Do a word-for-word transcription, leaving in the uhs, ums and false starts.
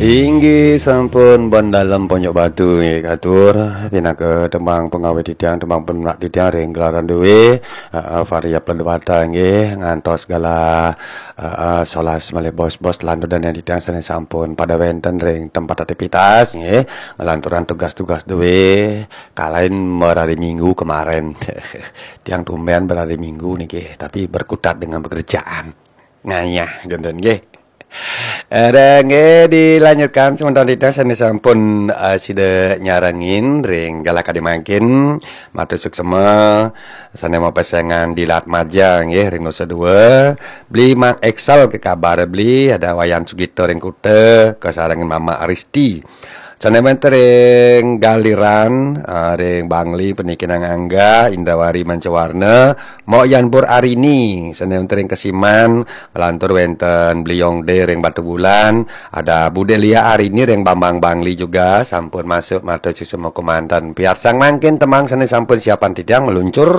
Inggih sampun bon dalem Ponjok Batu nggih katur pinaka tembang pengawit titiang, tembang penak titiang ring gelaran duwe, heeh, Varia Pledwata nggih ngantos galah, heeh, solas malih bos-bos lanturan titiang sane sampun pada wenten ring tempat aktivitas nggih, nglanturang tugas-tugas duwe, kalain merari Minggu kemaren. Tiang tumben merari Minggu niki, tapi berkutat dengan pekerjaan. Ngayah, genten nggih. Ada nggih dilanjutkan semeton titiang sane sampun, eh, sida nyarengin ring galah kadi mangkin. Matur suksema sane mapesengan di Latmaja nggih ring Nusa Dua. Beli Mang Excel ke kabar beli, ada Wayan Sugito ring Kuta, kasarengin Mama Aristi. Sane wenten ring Galiran, eh, ring Bangli, Penikinan Angga, Indawari Mancawarna, Mok Yan Pur Arini, sane wenten ring Kesiman, lantur wenten Bliong De ring Batubulan, ada Bude Lia Arini ring Bambang Bangli juga, sampun masuk matur suksema kemanten. Piarsang mangkin tembang sane sampun siapan titiang meluncur.